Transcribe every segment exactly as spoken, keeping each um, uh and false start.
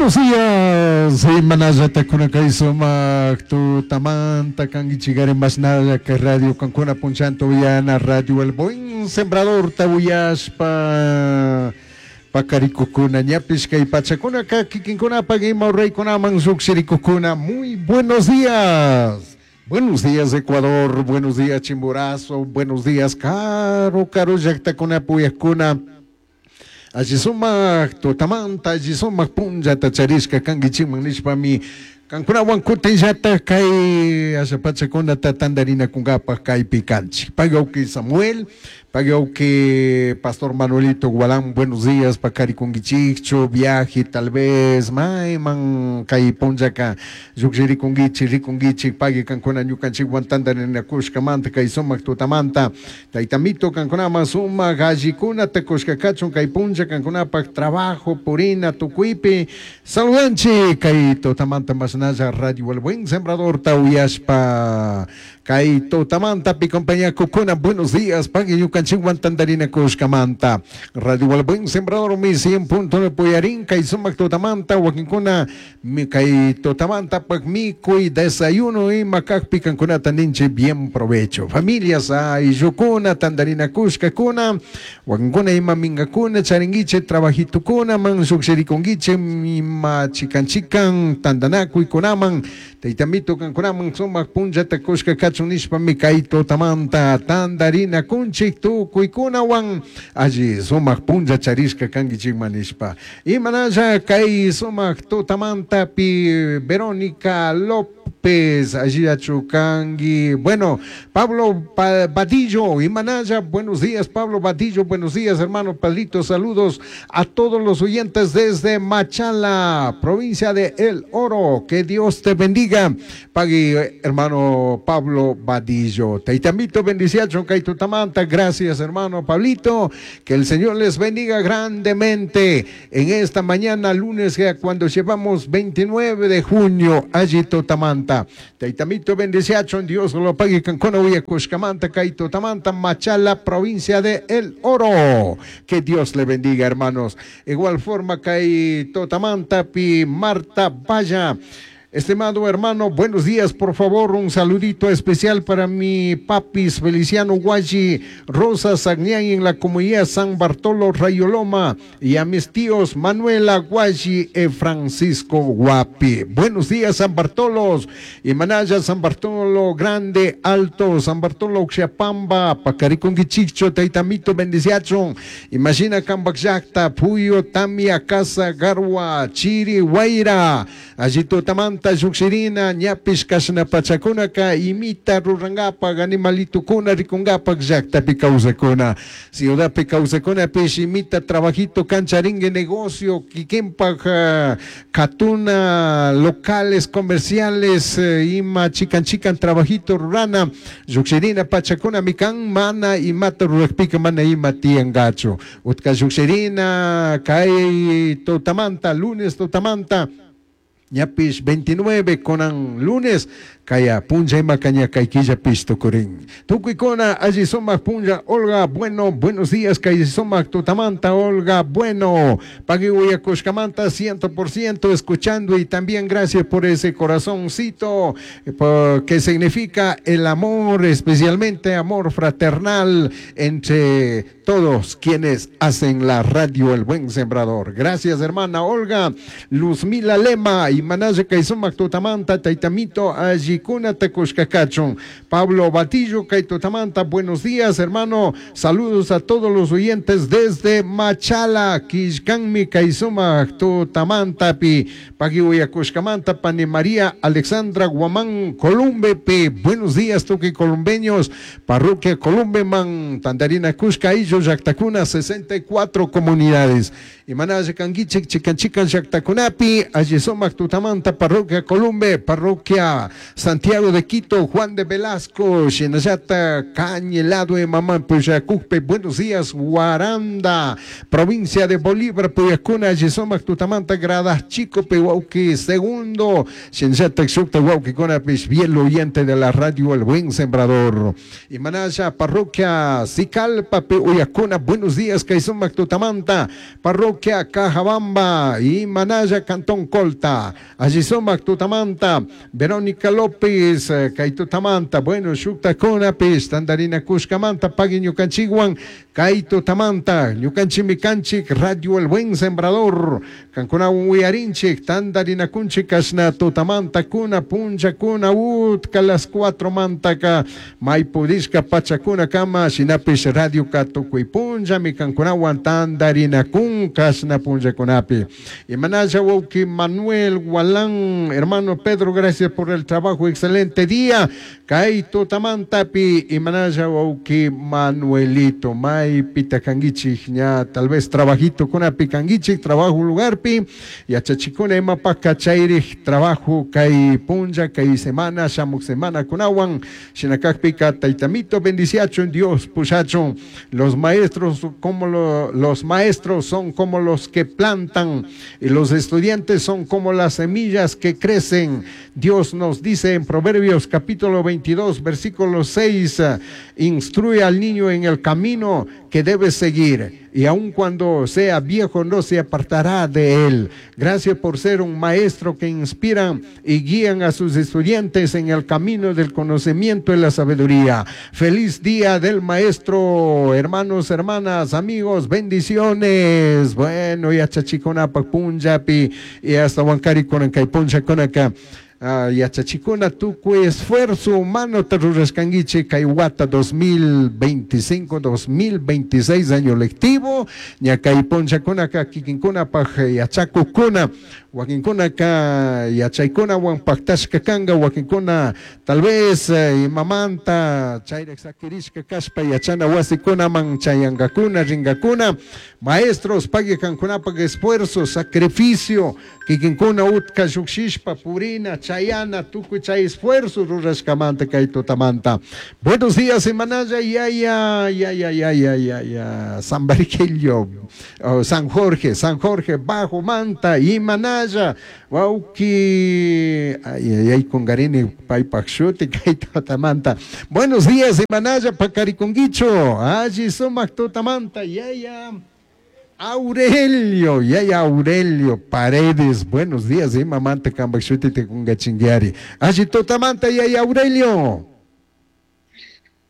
Buenos días, imanallata kay sumak tutamanta kankichikari mashnalla kay radio kankuna punchanta uyana radio El Buen Sembrador tawiyashpa pakarikukuna ñapish kay pachakunaka kikinkunapak ima ruraykunaman lluqshirikukuna. Muy buenos días. Buenos días, Ecuador, buenos días, Chimborazo, buenos días, karu karu llaktakunapi uyakuna. Alli sumak tutamanta, alli sumak punllata charishka kankichikman nishpami kankunawan kutinllata kay asha pachakunata tantarinakunkapak kaypi kanchik. Pagauki Samuel, pagauki Pastor Manuelito Gualán, buenos días, pakarikunkichikchu, viaje tal vez, mayman kay punllaka llukshirikunkichik, rikunkichik, pagui kankuna ñukanchikwan tantarinakushkamanta kay sumak tutamanta, taytamito kankunaman sumak allikunata kushka kachun kay punlla kankunapak trabajo, purina, tukuypi, saludanchik kay tutamanta masnalla Radio El Buen Sembrador tawiyashpa kay tutamanta pi compañía kukuna, buenos días, pagui ñukanchikwan tantarinakushkamanta Radio El Buen Sembrador mi cien punto nueve puyarin kay sumak tutamanta wakinkuna mi kay tutamanta pak mikuy desayuno ima kakpi kankunata ninchik bien provecho, familias ayllukuna tantarinakushkakuna wakinkuna ima minkakuna charinkichik trabajitukuna man llukshirikunkichik ima chikan chikan tantanakuykunaman taytamito kankunaman sumak punllata kushka kachun nishpami kay tutamanta tantarinakunchik tukuykunawan alli sumak punlla charishka kankichikman nishpa. Imanalla kay sumak tutamanta pi Verónica López allillachu kanki. Bueno, Pablo Vadillo, Imanaya, buenos días, Pablo Vadillo, buenos días, hermano Padrito, saludos a todos los oyentes desde Machala, provincia de El Oro, que Dios te bendiga, pagui, hermano Pablo Vadillo. Taitamito, bendiciacho, Kaitutamanta, gracias, hermano Pablito, que el Señor les bendiga grandemente en esta mañana, lunes, cuando llevamos veintinueve de junio, allí Totamanta. Taitamito, bendiciacho, Dios lo pague, Cancona, Uyacushcamanta, Kaito Tamanta, Machala, provincia de El Oro. Que Dios le bendiga, hermanos. Igual forma, Kaito Tamanta, Pi Marta Vaya. Estimado hermano, buenos días, por favor, un saludito especial para mi papis Feliciano Guayi, Rosa Sagnián en la comunidad San Bartolo Rayoloma y a mis tíos Manuela Guayi y Francisco Guapi. Buenos días, San Bartolos, y Manaya, San Bartolo Grande, Alto, San Bartolo Uxiapamba, Pacaricunguichicho, Taitamito, Bendiciachon, Imagina Cambacyacta, Puyo, Tamia, Casa, Garua, Chiri, Guaira, Allito Tamanta, Llukshirina, ñapish kashna pachakunaka, imita rurangapak, animalitukuna rikungapak, llaktapi kawsakuna, ciudadpi kawsakunapish imita trabajito kancharingue negocio, kikinpak, uh, katuna, locales comerciales, uh, ima chikan chikan trabajito rurana, llukshirina pachakuna mikan mana imata rurakpika mana ima tiyangachu. Utka llukshirina, kay tutamanta, lunes tutamanta, ñapish veintinueve conan lunes, kaya punlla ima caña kaikilla pisto kurin. Tukuikona, allí sumak punlla, Olga Bueno, buenos días, kay sumak tutamanta, Olga Bueno, pagui kushkamanta, ciento por ciento escuchando y también gracias por ese corazoncito, que significa el amor, especialmente amor fraternal entre todos quienes hacen la radio El Buen Sembrador. Gracias, hermana Olga. Luzmila Lema y Manaje Kaisumak Tutamanta, Taitamito, Ayikuna Tecushcacachon. Pablo Batillo, Kaitutamanta, buenos días, hermano. Saludos a todos los oyentes desde Machala, Kishkanmi, Kaisumak Tutamanta, Pi, Pagiuyacushcamanta, Pani María Alexandra Guamán, Columbe, Pi. Buenos días, Tuqui columbeños, Parroquia Columbe, Man, Tandarina Cushca, Illo, Yactacuna, sesenta y cuatro comunidades. Y Manaje Canguichik, Chicanchican, Yactacunapi, Ayisomac Tutamanta, Parroquia Columbe, Parroquia Santiago de Quito, Juan de Velasco, Xinayata, Cañelado, Mamán, Puyacujpe, buenos días, Guaranda, provincia de Bolívar, Puyacuna, Ayisomac Tutamanta, Gradas Chico, Pehuauqui, segundo, Xinayata, Xucta, Huauqui, Conapis, fiel oyente de la radio El Buen Sembrador. Y Manaya, Parroquia Sicalpa, uyakuna. Buenos días kay sumak tutamanta, parroquia Cajabamba y Manaya, Cantón Colta. Allí sumak tutamanta, Verónica López, kay tutamanta. Bueno, shuktakunapish tandarina kushkamanta pagui ñukanchikwan kay tutamanta. Ñukanchikmi kanchik Radio El Buen Sembrador. Kankunawan uyarinchik tandarinakunchik kashna tutamanta kuna punchakuna utka las cuatro mantaka may pudishka pachakuna kama shinapish radio ka tukuy punllami kankunawan tandarinakun kashna punllakunapi. Imanalla wawki Manuel Gualán, hermano Pedro, gracias por el trabajo, excelente día. Kay tutamantapi imanalla wawki Manuelito, may pitakanguichik ña tal vez trabajito kunapi kanguichik, trabajo lugarpi, yachachikuna imapaka chayrij trabajo kay punlla, kay semana, shamuk semana kunawan, shinakakpika taytamito bendiciachun, Dios pushachun. Los maestros como lo, los maestros son como los que plantan y los estudiantes son como las semillas que crecen. Dios nos dice en Proverbios capítulo veintidós, versículo seis, instruye al niño en el camino que debe seguir, y aun cuando sea viejo no se apartará de él. Gracias por ser un maestro que inspiran y guían a sus estudiantes en el camino del conocimiento y la sabiduría. Feliz día del maestro, hermanos, hermanas, amigos, bendiciones. Bueno, ya chachicona punjapi y hasta Huancari con punja con acá. Uh, yachachikuna tukuy esfuerzo humano tarurashkanguichik kay wata dos mil veinticinco dos mil veintiséis año lectivo ña kay punchakunaka kikinkunapaj yachakukuna wakinkunaka yachaykunawan paktashka kanka wakinkuna tal vez eh, imamanta chayraq sakirishka kashpa yachana wasikunaman chayankakuna rinkakuna. Maestros pagui kankunapaj esfuerzo sacrificio kikinkuna utka llukshishpa purina chayana tukuy chay esfuerzo rurashkamanta kay tutamanta. Buenos días, Imanaya, ya ya ya ya ya ya ya ya San Barquillo, oh, San Jorge, San Jorge Bajo Manta, Imanaya, wauki ay ay ay kungarini paypaj shuti kay tutamanta. Buenos días, Imanaya, pakarikunguicho, alli sumak tutamanta, ya ya. Aurelio, ya ya Aurelio Paredes, buenos días, eh, mamanta kambak shuti te kungachinguiari. Allí tutamanta, ya ya Aurelio.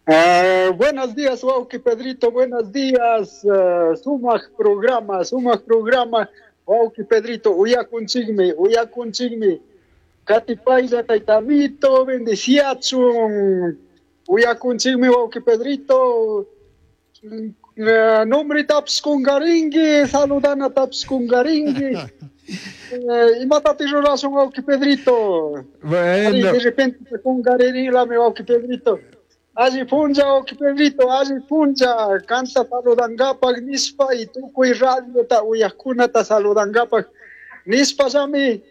Uh, buenos días, wauki Pedrito, buenos días, uh, sumak programa, sumak programa, wauki Pedrito, uyakunchikmi, uyakunchikmi, katipaylla taytamito, bendiciachun, uyakunchikmi, wauki Pedrito, uh, nombre taps kungaringi, saludana taps kungaringi, uh, imatati rurasun, wauki Pedrito. Bueno. De repente kungarinilami, wauki Pedrito. Alli punlla, wauki Pedrito, alli punlla, kanta saludangapak nispa y tukuy radiota uyajkunata saludangapak nispa llami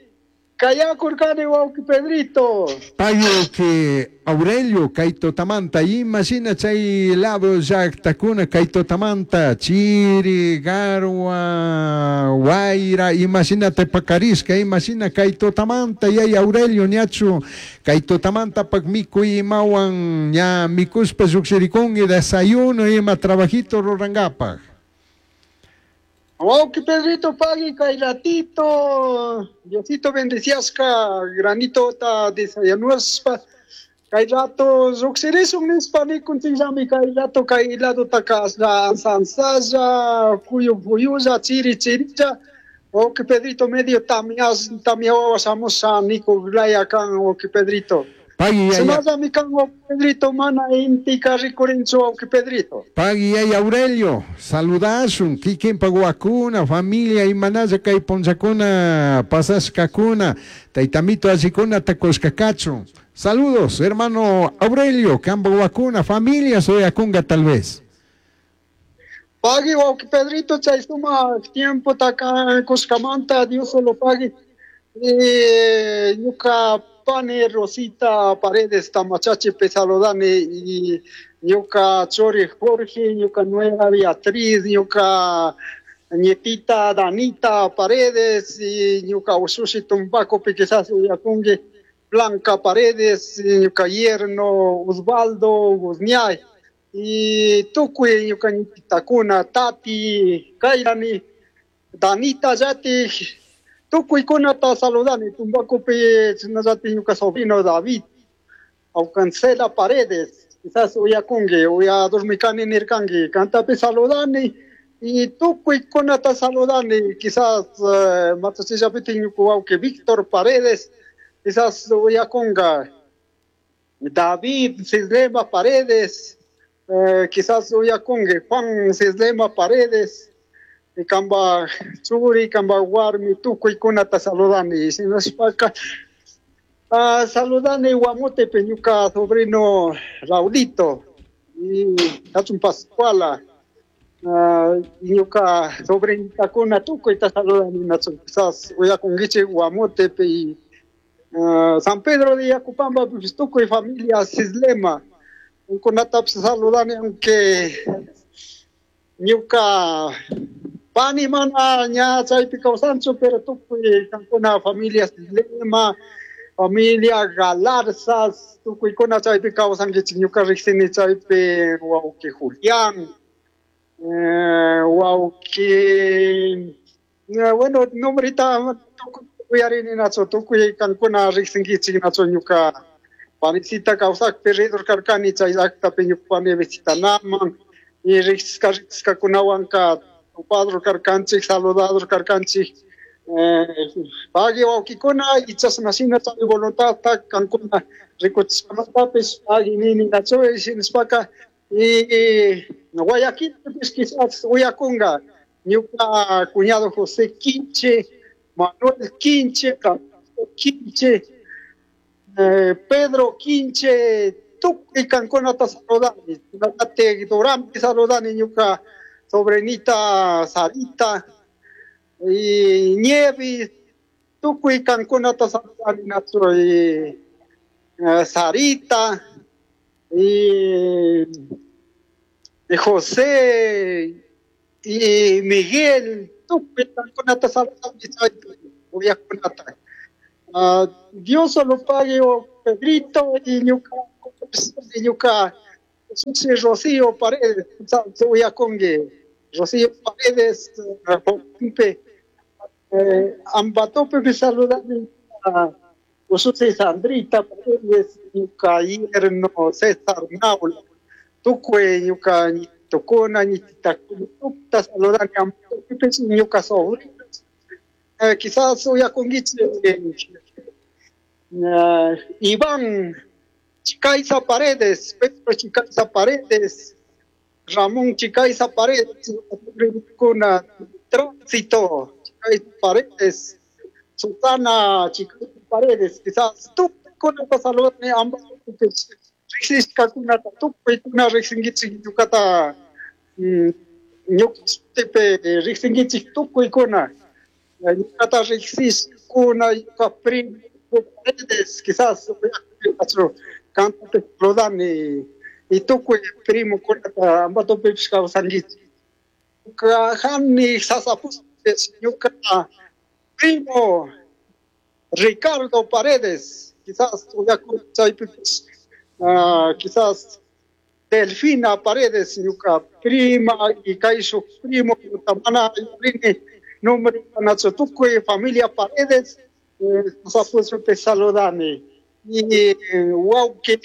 kayakurkani, wauki Pedrito. Payo que Aurelio kay tutamanta, imagina chay lado llaqtakuna kay tutamanta, chiri, garwa, wayra, imagínate pakarishka, imagina kay tutamanta, yay Aurelio ñachu kay tutamanta pak mikuy imawan ña mikuspa lluqshirikunki desayuno ima trabajito rurangapak. Wauki Pedrito, pagui kay ratito, Diosito bendeciasca, granito ta desayunuspa, kay rato lluqshirisun nispa nikunchikllami kay rato kay lado taka ansansalla, fuyu fuyulla, chiri chirilla, wauki Pedrito medio tamias tamiawawa shamusha nikuglaya kan, wauki Pedrito. Pagui yaya. Sumallami kan, wauki Pedrito, mana intika rikurinchu, wauki Pedrito. Pagui yaya Aurelio, saludashun, kikinpa wawakuna, familia, imanalla kay punllakuna, pasashkakuna, taytamito allikuna takushkakachun. Saludos, hermano Aurelio, kamba wawakuna, familia, soyakunga tal vez. Pagui, wauki Pedrito, chay sumak tiempo taka kushkamanta, Dios solo pagui. Eh, ñuka pani Rosita Paredes Tamachachi saludani y ñuka chori Jorge, ñuka nuera Beatriz, ñuka nietita Danita Paredes y ñuka ushushi Tumbaco quizás uyakungi Blanca Paredes, y ñuka yerno Osvaldo Guzñay. Y tukuy ñukanchitakuna Tati, Kairani, Danita yati, tukuykunata saludani, Tumbacupi chinallati ñuka sobrino David, Aucancela Paredes, quizás uyakunki, uya dormikani nirkanki, kantapi saludani, y tukuykunata saludani, quizás uh, matachillapiti ñuka wawki Víctor Paredes, quizás uyakunga, David Cislema Paredes, eh, quizás uyakunki, Juan Cislema Paredes, y kamba churi, kamba warmi, tukuykunata saludani, shinashpaka, uh, saludani Guamotepe ñuka sobrino Raulito, y Hatun Pascuala, uh, ñuka sobrinitakuna tukuyta saludani, nachu, quizás uyakunkichik Guamotepe y uh, San Pedro de Yacupamba, pues, tukuy familia Cislema, kunatapish saludani, aunque ñuka pani mana ña chaypi kawsanchu, pero tukuy kankuna familia Cislema, familia Galarzas, tukuykuna chaypi kawsankichik, ñuka riqsini chaypi wawqi Julián, eh, wawqi, eh, bueno, nombrita tukuy uyarini nachu, tukuy kankuna riqsinkichik nachu ñuka panicita kawsakpi ridor karkani chay llaqtapi ñuka pani visitanaman, y riqsishka riqsishkakunawanka tupador karkanchik, saludador karkanchik, eh, pagui wawkikuna y chashna shina chay voluntadta kankuna rikuchishkamantapish pagui nini nachu, shinashpaka y Guayaquilpish quizás uyakunga ñuka cuñado José Quinche, Manuel Quinche, Francisco Quinche, eh, Pedro Quinche, tukuy kankunata saludani, Ate Duranpi saludani ñuka sobrinita Sarita y Nievis, tukuy kankunata saludani nachu, y eh, Sarita y, y José y Miguel, tukuy kankunata saludani chaypi uyakunata. Uh, Dios solo pague o Pedrito y ñuka y ñuka Susi Rocío Paredes, uyakunki, Rocío Paredes, Pompe, eh, Ambatope saludani a Ususi Sandrita Paredes, ñuka yerno César Naula, tukuy ñuka ñitukuna, ñititakuna, tukta saludani Ambatope ñuka sobrino. Eh, quizás uyakunkichik eh, Iván Chicaiza Paredes, Pedro Chicaiza Paredes, Ramón Chicaiza Paredes, kuna Tránsito Chicaiza Paredes, Susana Chicaiza Paredes, quizás tukuy saludani ambos riqsishkakunata tukuykuna riqsinkichik ñukata ñuqtipi riqsinkichik tukuykuna ñukata riqsishkuna ñuka primo Paredes, quizás kantapi saludani y tukuy primokunata Ambatopipish kawsankichik. Ñuka hani sasapuspish ñuka primo Ricardo Paredes, quizás chaypipish, uh, quizás Delfina Paredes, ñuka prima y kayshuk primo mana yurini nombre nachu tukuy familia Paredes, eh, sasapuspish saludani. Y wawqi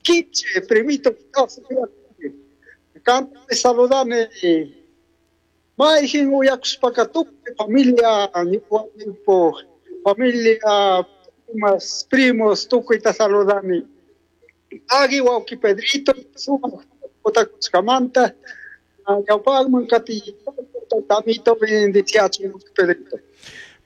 Quinche, primito, kanta saludani, mayjin uyakushpaka tukuy familia, ñuka familia, primas, primos, tukuyta saludani. Agui wawqi Pedrito, sumaq utakushkamanta, ñawpaqman kati taytamito bendiciachun Pedrito.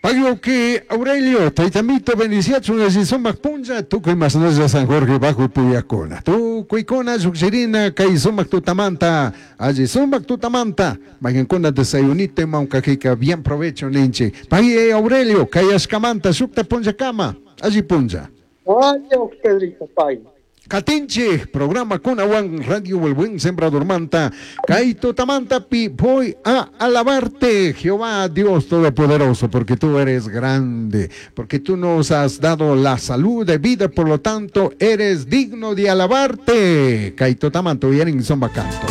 Pagui que Aurelio, taytamito bendiciachun alli sumaq punlla, tukuy masnalla San Jorge bajo puyakuna. Tukuykuna lluqshirina kay sumaq tutamanta, alli sumaq tutamanta, mayqankuna desayunito imawkakika bien provecho ninchik. Pagui Aurelio, kayashkamanta shukta punllakama, alli punlla. Ay, Pedrito, pagui. Katinchik programa kunawan Radio El Buen Sembrador manta kay tutamantapi voy a alabarte Jehová Dios Todopoderoso porque tú eres grande, porque tú nos has dado la salud de vida, por lo tanto eres digno de alabarte. Kay tutamanta uyarin zomba canto.